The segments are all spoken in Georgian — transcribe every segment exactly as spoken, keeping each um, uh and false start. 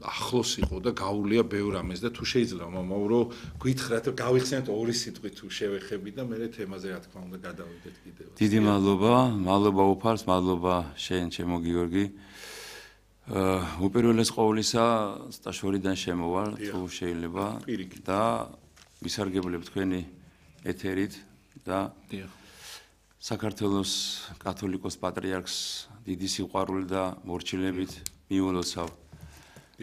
ახლოს იყო და გაუვლია ბევრ ამას და თუ შეიძლება მამაო რომ გითხრათ რომ გავიხსენოთ ორი სიტყვით თუ შევეხები და მე თემაზე რა თქმა უნდა გადავიდეთ კიდევ. დიდი მადლობა, მადლობა უფარს, მადლობა შენ ჩემო გიორგი. აა უპირველეს ყოვლისა სტაშორიდან შემოვალ თუ შეიძლება და ვისარგებლებ თქვენი ეთერით და საქართველოს კათოლიკოს პატრიარქს დიდი სიყვარული და მორჩილებით მიულოცავ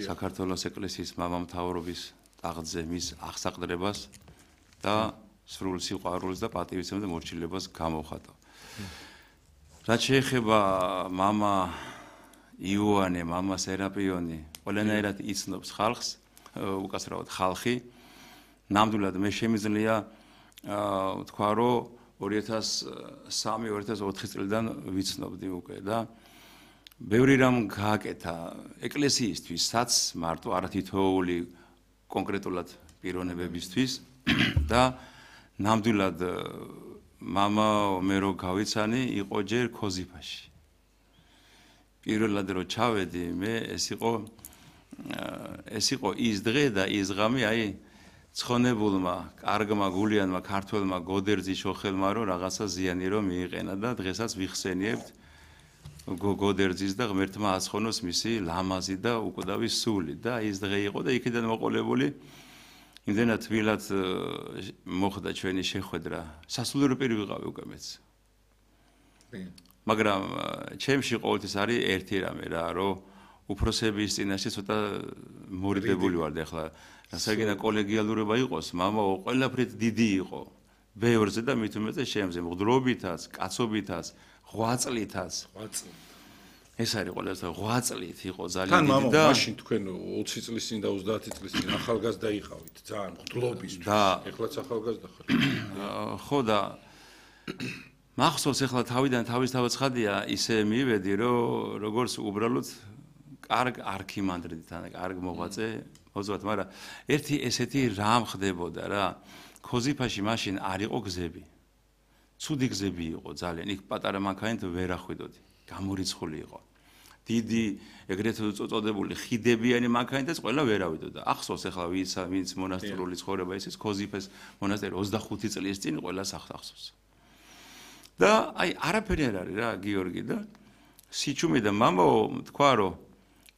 საქართველოს ეკლესიის მამამთავრობის ტახტზე მის აღსაყდრებას და სრულ სიყვარულს და პატივისცემას და მორჩილებას გამოვხატავ. რაც შეეხება მამა იოანე, მამა სერაპიონი, ყველანაირად იცნობს ხალხს, უკაცრავად ხალხი. ნამდვილად მე შემიძლია თქვა რომ ორი ათას სამი ორი ათას ოთხი წლიდან ვიცნობდი უკვე და ბევრი რამ გააკეთა ეკლესიისთვისაც მარტო არა თითოეული კონკრეტულად პიროვნებებისთვის და ნამდვილად მამა მე რო გავიცანი იყო ჯერ ქოზიფაში. პირველად რო ჩავედი მე ეს იყო ეს იყო ის დღე და ის ღამე აი ცხონებულმა, კარგმა გულიანმა ქართველმა გოდერძის შოხელმა რომ რაღაცა ზიანი რომ მიიყენა და დღესაც ვიხსენიებთ გოდერძის და ღმერთმა აცხონოს მისი ლამაზი და უკვდავი სული და ის დღე იყო და იქიდან მოყოლებული იმდენად თბილად მოხდა ჩვენი შეხვედრა. სასულიერო პირი ვიყავი უკვე მეც. მაგრამ ჩემში ყოველთვის არის ერთი რამე რა რომ უფროსების წინაშე ცოტა მორიდებული ვარ და ახლა რასაკეთა კოლეგიალურობა იყოს, მამაო ყველაფრით დიდი იყო. ბევრზე და მით უმეტეს შემზე, მღვდლობითაც, კაცობითაც, ღვაწლითაც. ეს არის ყველაზე ღვაწლით იყო ძალიან დიდი და მაშინ თქვენ ოცი წლის წინ და ოცდაათი წლის წინ ახალგაზრდა იყავით, ძალიან მღვდლობისთვის. ეხლაც ახალგაზრდა ხარ. ხო და მახსოვს ახლა თავიდან თავისთავად ცხადია ისე მივედი რომ როგორც უბრალოდ კარგ არქიმანდრიტთან, კარგ მოღვაწე მოძვათ, მაგრამ ერთი ესეთი რამ ხდებოდა რა. ქოზიფაში მაშინ არ იყო გზები. ცუდი გზები იყო ძალიან. იქ პატარა მანქანით ვერ ახვიდოდი. გამორიცხული იყო. დიდი ეგრეთ წოდებული ხიდებიანი მანქანითაც ყველა ვერ ავიდოდა. ახსოვს ახლა ვინც ვინც მონასტრული ცხოვრება ის ის ქოზიფეს მონასტერი ოცდახუთი წლის წინ ყველას ახსოვს. და აი არაფერი არ არის რა გიორგი და სიჩუმე და მამაო თქვა რომ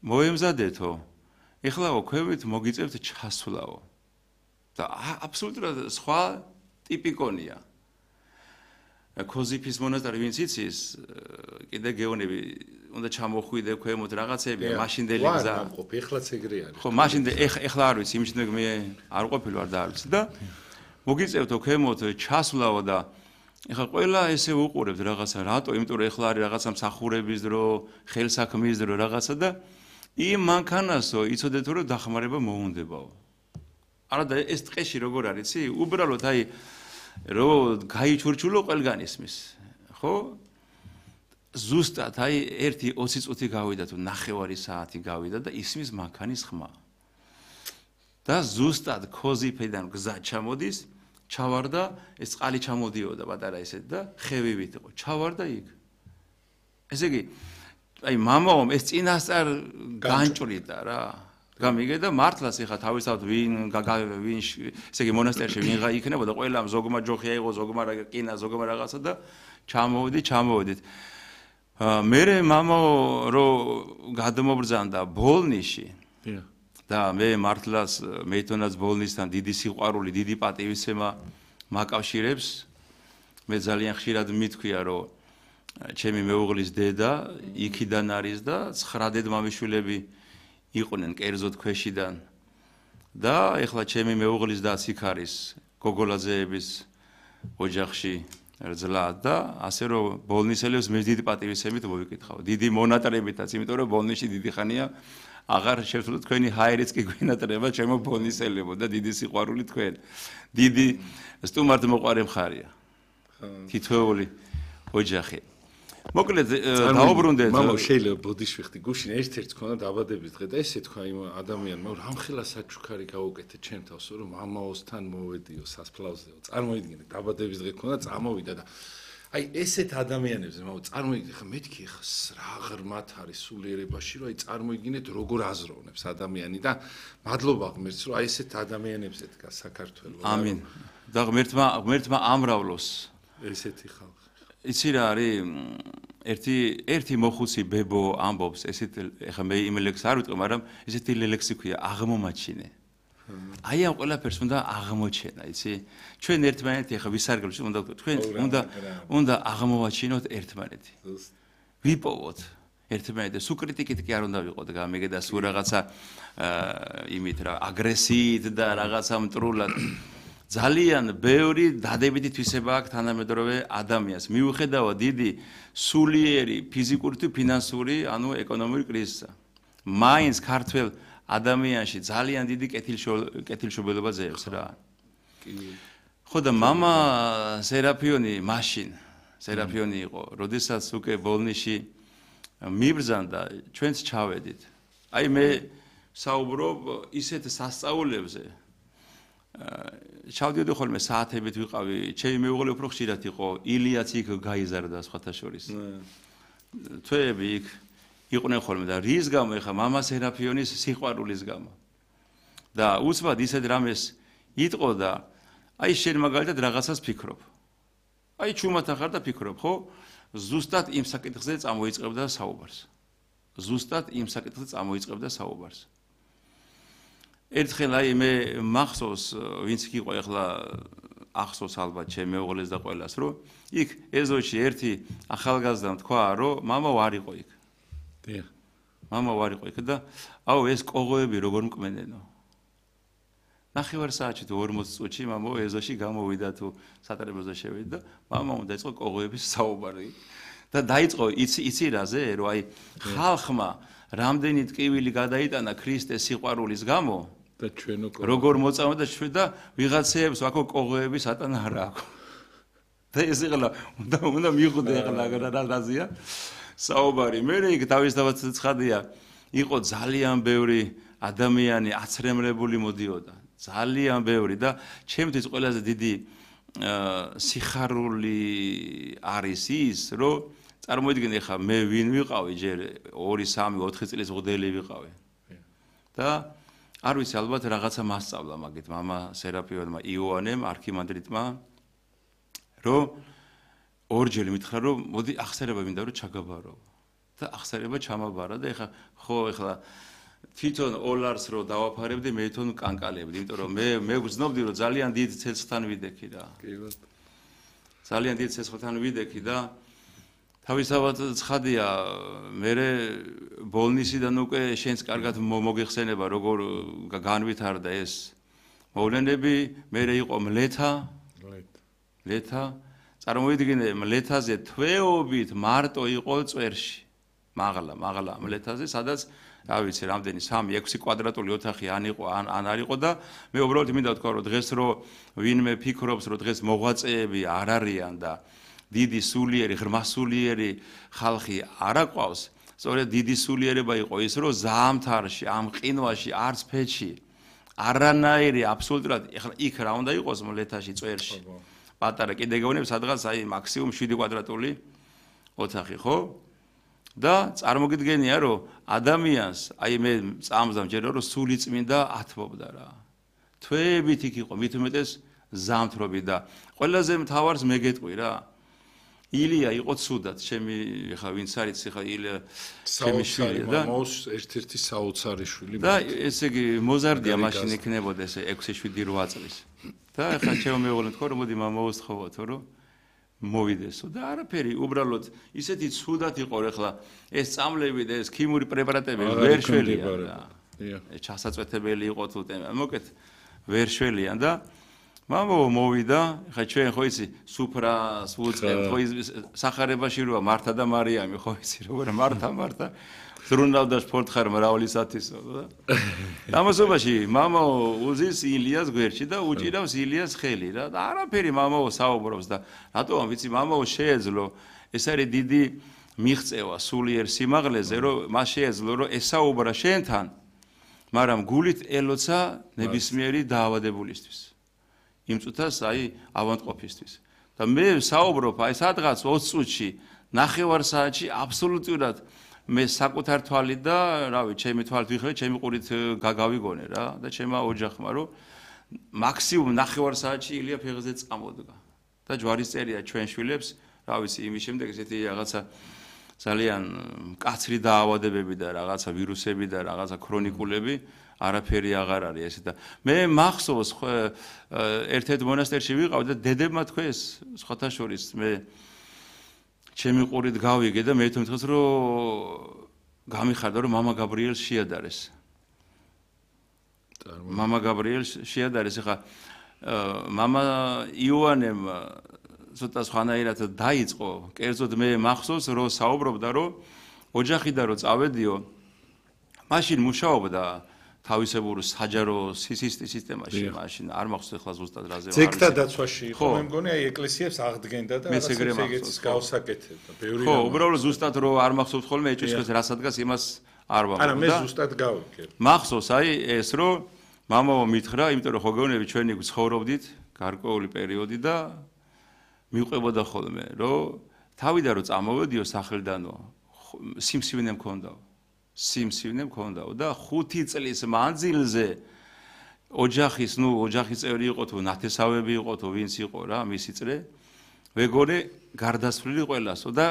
მოემზადეთო ეხლაო ქვევით მოგიწევთ ჩასვლაო და აბსოლუტურად სხვა ტიპიკონია ქოზიფის მონასტერი ვინც იცის კიდე გეონები უნდა ჩამოხვიდე ქვემოთ რაღაცები მაშინდელი გზა ვარ ეხლაც ეგრე არის ხო მაშინდე ეხლა არ ვიცი იმის მე არ ყოფილი ვარ და არ ვიცი და მოგიწევთო ქვემოთ ჩასვლაო და ეხლა ყველა ესე უყურებთ რაღაცა რატო იმიტომ რომ ეხლა არის რაღაცა მსახურების დრო ხელსაქმის დრო რაღაცა და იმ მანქანასო იცოდეთ რომ დახმარება მოუნდებაო არა და ეს ტყეში როგორ არის იცი უბრალოდ აი რომ გაიჩურჩულო ყველგან ისმის ხო ზუსტად აი ერთი ოცი წუთი გავიდა თუ ნახევარი საათი გავიდა და ისმის მანქანის ხმა და ზუსტად ქოზიფიდან გზა ჩამოდის ჩავარდა ეს წყალი ჩამოდიოდა პატარა ისეთ და ხევივით იყო ჩავარდა იქ ესე იგი აი მამაომ ეს წინასწარ განჭრიდა რა გამიგე და მართლაც ეხა თავისთავად ვინ ვინ ესე იგი მონასტერში ვინ იქნებოდა ყველა ზოგმა ჯოხი აიღო ზოგმა კინა ზოგმა რაღაცა და ჩამოვიდი ჩამოვიდით მე მამაო რო გადმობრძანდა ბოლნიში და მე მართლაც მეითონაც ბოლნისთან დიდი სიყვარული დიდი პატივისცემა მაკავშირებს მე ძალიან ხშირად მithქვია რომ ჩემი მეუღლის დედა იქიდან არის და ცხრა დედმამიშვილები იყვნენ კერძოდ ქვეშიდან და ეხლა ჩემი მეუღლის დაც იქ არის გოგოლაძეების ოჯახში რძლა და ასე რომ ბოლნისელებს მე დიდი პატივისცემით მოვიკითხავ დიდი მონატრებითაც იმიტომ რომ ბოლნისში დიდი ხანია აღარ შევძლო თქვენი ჰაერიც კი გვინატრება ჩემო ბოლნისელებო და დიდი სიყვარული თქვენ დიდი სტუმართ მოყარე მხარია თითოეული ოჯახი მოკლედ დაუბრუნდეთ მამა შეიძლება ბოდიშვიხტი გუშინ ერთ-ერთ ქონა დაბადების დღე და ესე თქვა იმ ადამიანმა რამხელა საჩუქარი გაუკეთე ჩემ თავს რომ მამაოსთან მოვედიო სასფლავზეო წარმოიდგინე დაბადების დღე ქონა წამოვიდა და აი ესეთ ადამიანებს მაგ წარმოიდგინე ხა მეთქი ხა რა ღრმათ არის სულიერებაში რომ აი წარმოიდგინეთ როგორ აზროვნებს ადამიანი და მადლობა ღმერთს რომ აი ესეთ ადამიანებს ედგა საქართველოს ამინ და ღმერთმა ღმერთმა ამრავლოს ესეთი ხალხი იცი რა არის ერთი ერთი მოხუცი ბებო ამბობს ესეთ ეხა მე იმ ლექს არ ვიტყვი მაგრამ ესეთი ლექსი ქვია აღმომაჩინე აი ამ ყველაფერს უნდა აღმოჩენა იცი ჩვენ ერთმანეთი ეხა ვისარგებლოთ უნდა თქვენ უნდა უნდა აღმოვაჩინოთ ერთმანეთი ვიპოვოთ ერთმანეთი სულ კრიტიკით კი არ უნდა ვიყოთ გამიგე და სულ რაღაცა იმით რა აგრესიით და რაღაცა მტრულად ძალიან ბევრი დადებითი თვისება აქვს თანამედროვე ადამიანს მიუხედავად დიდი სულიერი ფიზიკური თუ ფინანსური ანუ ეკონომიკური კრიზისა მაინც ქართველ ადამიანში ძალიან დიდი კეთილშობილობა ძევს რა. ხო და мама სერაფიონი მაშინ სერაფიონი იყო, როდესაც უკვე ბოლნიში მიბრძანდა, ჩვენც ჩავედით. აი მე საუბრობ ისეთ სასწაულებზე. ჩავდიოდი ხოლმე საათებით ვიყავი, ჩემი მეუღლე უფრო ხშირად იყო, ილიაც იქ გაიზარდა სხვათა შორის. თვეები იქ იყვნენ ხოლმე და რის გამო ეხა мама სერაფიონის სიყვარულის გამო. და უცბად ისეთ რამეს იტყო და აი შენ მაგალითად რაღაცას ფიქრობ. აი ჩუმათა ხარ და ფიქრობ, ხო? ზუსტად იმ საკითხზე წამოიწყებდა საუბარს. ზუსტად იმ საკითხზე წამოიწყებდა საუბარს. ერთხელ აი მე მახსოვს, ვინც კი იყო ეხლა ახსოვს ალბათ ჩემ მეუღლეს და ყველას, რომ იქ ეზოში ერთი ახალგაზრდა თქვა, რომ мама ვარ იყო იქ. დიახ. мама ვარ იყო იქ და აუ ეს კოღოები როგორ მკმენენო. ნახევარ საათში თუ ორმოც წუთში мама ეზოში გამოვიდა თუ სატრებოზე შევიდა და мама უნდა იწყო კოღოების საუბარი. და დაიწყო იცი იცი რაზე, რომ აი ხალხმა რამდენი ტკივილი გადაიტანა ქრისტეს სიყვარულის გამო და ჩვენო როგორ მოწამდა და ჩვენ და ვიღაცეებს აქო კოღოები სატანა არა აქვს. და ეს ეხლა უნდა უნდა მიხვდე ეხლა რა რაზია საუბარი. მე იქ თავისთავად ცხადია, იყო ძალიან ბევრი ადამიანი აცრემლებული მოდიოდა. ძალიან ბევრი და ჩემთვის ყველაზე დიდი სიხარული არის ის, რომ წარმოიდგინე ხა მე ვინ ვიყავი ჯერ ორი სამი ოთხი წლის მღვდელი ვიყავი. და არ ვიცი ალბათ რაღაცა მასწავლა მაგით мама სერაფიონმა იოანემ არქიმანდრიტმა რომ ორჯერ მითხრა რომ მოდი ახსერება მინდა რომ ჩაგაბარო. და ახსერება ჩამაბარა და ეხა ხო ეხლა თვითონ ოლარს რო დავაფარებდი მე თვითონ კანკალებდი, იმიტომ რომ მე მე ვგრძნობდი რომ ძალიან დიდ ცეცხლთან ვიდექი რა. კი ბატონო. ძალიან დიდ ცეცხლთან ვიდექი და თავისთავად ცხადია, მე ბოლნისიდან უკვე შენს კარგად მოგეხსენება როგორ განვითარდა ეს მოვლენები, მე იყო მლეთა, მლეთა, წარმოიდგინე მლეთაზე თვეობით მარტო იყო წვერში. მაღლა, მაღლა მლეთაზე, სადაც რა ვიცი, რამდენი სამი ექვსი კვადრატული ოთახი ან იყო, ან ან არ იყო და მე უბრალოდ მინდა ვთქვა, რომ დღეს რო ვინმე ფიქრობს, რომ დღეს მოღვაწეები არ არიან და დიდი სულიერი, ღრმასულიერი ხალხი არ აყვავს, სწორედ დიდი სულიერება იყო ის, რომ ზამთარში, ამ ყინვაში, არც ფეჩი, არანაირი აბსოლუტურად, ეხლა იქ რა უნდა იყოს მლეთაში, წვერში. პატარა კიდე გეუბნები, სადღაც აი მაქსიმუმ შვიდი კვადრატული ოთახი, ხო? და წარმოგიდგენია, რომ ადამიანს, აი მე წამსდა მჯერა, რომ სული წმინდა ათმობდა რა. თვეებით იქ იყო, მით უმეტეს ზამთრობით და ყველაზე მთავარს მე გეტყვი რა. ილია იყო ცუდად, ჩემი ხა ვინც არის ხა ილია ჩემი შვილი და მამაოს ერთ-ერთი საოცარი შვილი. და ესე იგი მოზარდია მაშინ იქნებოდა ესე ექვსი შვიდი რვა წლის. და ხა ჩემო მეუღლე თქვა რომ მოდი მამაოს თხოვათო რომ მოვიდესო და არაფერი უბრალოდ ისეთი ცუდად იყო ეხლა ეს წამლები და ეს ქიმიური პრეპარატები ვერ შველიან და ჩასაწვეთებელი იყო თუ მოკეთ ვერ შველიან და მამაო მოვიდა ხა ჩვენ ხო იცი სუფრას უწყებთ ხო სახარებაში როა მართა და მარიამი ხო იცი როგორ მართა მართა ზრუნავდა სპორტხარ მრავლისათისო და ამასობაში მამაო უზის ილიას გვერდში და უჭირავს ილიას ხელი რა და არაფერი მამაო საუბრობს და რატომ ვიცი მამაო შეეძლო ეს არის დიდი მიღწევა სულიერ სიმაღლეზე რომ მას შეეძლო რომ ესაუბრა შენთან მაგრამ გულით ელოცა ნებისმიერი დაავადებულისთვის იმ წუთას აი ავადმყოფისთვის და მე საუბრობ აი სადღაც ოცი წუთში, ნახევარ საათში აბსოლუტურად მე საკუთარ თვალით და რავი, ჩემი თვალით ვიხილე, ჩემი ყურით გავიგონე რა და ჩემმა ოჯახმა რომ მაქსიმუმ ნახევარ საათში ილია ფეხზე წამოდგა. და ჯვარისწერია ჩვენ შვილებს, რა ვიცი, იმის შემდეგ ესეთი რაღაცა ძალიან მკაცრი დაავადებები და რაღაცა ვირუსები და რაღაცა ქრონიკულები არაფერი აღარ არის ესე და მე მახსოვს ერთ-ერთ მონასტერში ვიყავ და დედებმა თქვეს სხვათა შორის მე ჩემი ყურით გავიგე და მე თვითონ რომ გამიხარდა რომ მამა გაბრიელს შეადარეს. მამა გაბრიელს შეადარეს ხა მამა იოანემ ცოტა სხვანაირად დაიწყო. კერძოდ მე მახსოვს რომ საუბრობდა რომ ოჯახიდან რომ წავედიო მაშინ მუშაობდა თავისებურ საჯარო სისტემაში მაშინ არ მახსოვს ახლა ზუსტად რაზე ვარ. ძეგლთა დაცვაში იყო მე მგონი აი ეკლესიებს აღდგენდა და რაღაც ეგრეც გავსაკეთებდა. ბევრი ხო, უბრალოდ ზუსტად რომ არ მახსოვს ხოლმე ეჭვისყრის რა სადგას იმას არ ვამბობ. არა, მე ზუსტად გავიგე. მახსოვს აი ეს რომ მამაო მითხრა, იმიტომ რომ ხო გეუბნები ჩვენი ცხოვრობდით გარკვეული პერიოდი და მიყვებოდა ხოლმე რომ თავიდან რომ წამოვედიო სახელდანო სიმსივნე მქონდაო. სიმსივნე მქონდაო და ხუთი წლის მანძილზე ოჯახის, ნუ ოჯახის წევრი იყო თუ ნათესავები იყო თუ ვინც იყო რა, მისი წრე, ვეგორე გარდასვლილი ყველასო და